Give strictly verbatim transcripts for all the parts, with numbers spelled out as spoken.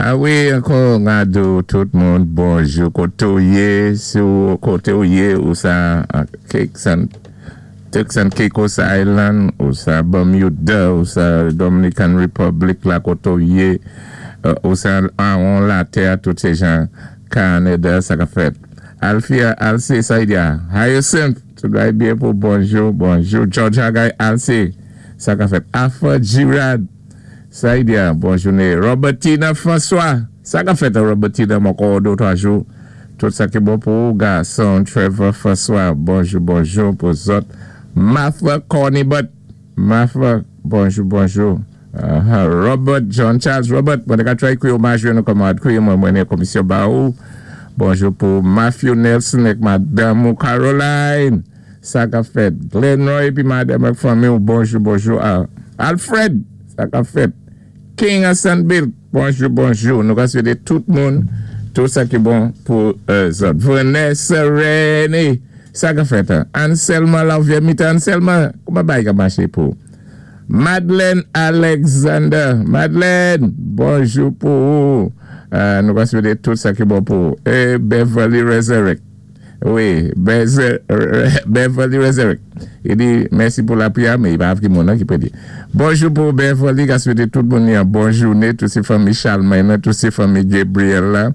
A wi, ankò, n di tout moun bonjou, koté ou yé, sou koté ou yé, ou sa Cakes and Turks and Caicos Island, ou sa Bermuda, ou sa Dominican Republic, la koté ou yé, ou sa an latè, tout sé jan Canada, sa ka fèt. Alfia, Alcé, sa y a. Hyacinth, tout bagay byen pou bonjou, bonjou. George Hagay, Alcé, sa ka fèt. Afa Girard, sa y a, bonjou. Robertina François, sa ka fèt Robertina, ankò dé, twa jou. Tout sa ki bon pou gason Trevor François, bonjou, bonjou pou zòt. Martha Cornybut, Martha, bonjou, bonjou. Uh, Robert John Charles, Robert, mwen ka try kwi ou majwe nou kòman kwi mwen mwen komisyon ba ou. Bonjou pou Matthew Nelson ek Madame Caroline. Sa ka fèt. Glenn Roy pi madame ak fanmi ou bonjou, bonjou. Alfred, sa ka fèt. King Hassan Bill, bonjou, bonjou. Nou ka swété tout moun, tout sa ki bon pou zòt. Vanessa René, sa ka fèt. Anselma Lavie, Anselma, kouman bay ka maché pou? Madeleine Alexander, Madeleine, bonjou pou ou. Nou ka swété tout sa ki bon pou ou. E Beverly Resurrect. Wi, Beverly Resurrect. I di, mèsi pou lapriyè, mé i pa ki moun ki pwé di. Bonjou pou Beverly, ka swété tout moun yon bon jouné, tout sé fanmi Charlemagne, tout sé fanmi Gabriel la.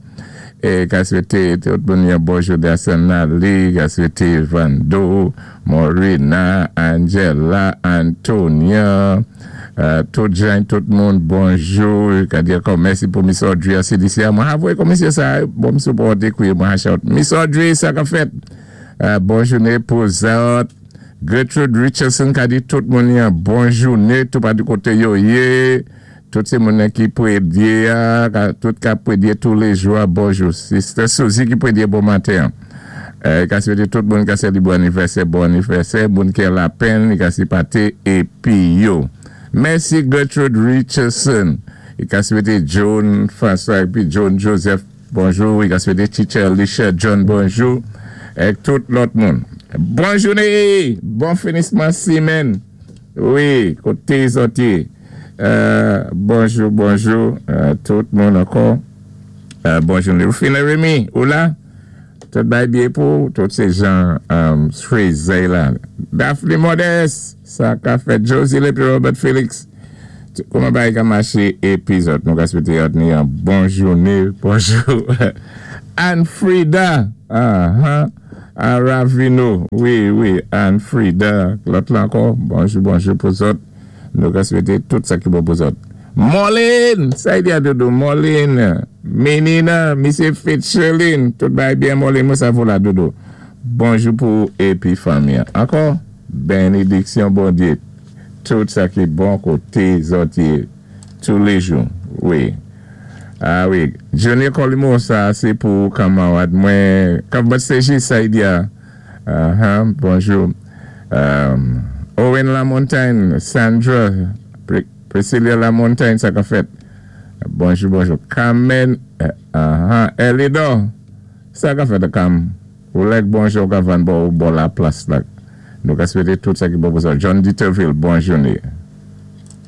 É ka swété tout moun yon bon jouné Asenali, ka swété Vando, Morina, Angela, Antonia, tout jan, tout moun, bonjou. Ka di ankò mèsi pou Miss Audrey C D C. Mwen avwé komisyon sa, bon msou pou dekouye mwen shout. Miss Audrey, sa ka fèt. Bon jouné pou zòt. Gertrude Richardson ka di tout moun yon bon jouné, tout pa di koté yo yé. Tout sé moun ki pwédyé, tout ka pwédyé tous les jours, bonjou. Sister Suzy ki pwédyé bon maten. Ka swété tout moun ka sé bon anivèsè, bon anivèsè, moun ki la penn, ka si paté épi yo. Mèsi Gertrude Richardson. Ka swété John François épi John Joseph, bonjou. Ka swété Teacher Alicia John, bonjou. Ek tout lòt moun. Bon jouné, bon finisman simenn. Wi, koté zòt yé. Bonjou, bonjou, tout moun ankò. Bon jouné. Rufina Remy, ou la? Tout bay byen pou, tout sé jan Fraser la. Daphne Modeste, sa ka fèt. Josie Lepi Robert Felix. Kouman bay ka maché épi zòt. Nou ka swété yot ni an bon jouné. Bonjou. Anne Frida. Ravino. Wi, wi, Anne Frida. Lòt la ankò. Bonjou, bonjou pou zòt. Nou ka swété tout sa ki bon pou zòt. Molin, sa y di a dodo, Molin, Menina, Misye Fitzgerlin, tout bay byen Molin, mwen sa vo la dodo. Bonjou pou épi fanmi. Ankò, bénédiksyon Bondyé. Tout sa ki bon koté zòt yé, tous les jours. Wi. A wi, Junior Colimo, sa sé pou kanmarad mwen, Kavbat Seji, sa y di a. Bonjou. Owen Lamontagne, Sandra, Priscilla Lamontagne, sa ka fèt. Bonjou, bonjou. Carmen, Elidor, sa ka fèt Cam. Ou lèk bonjou ka van bo ou bo la plas la. Nou ka swété tout sa ki bon pou sa. John Dieterville, bon jouné.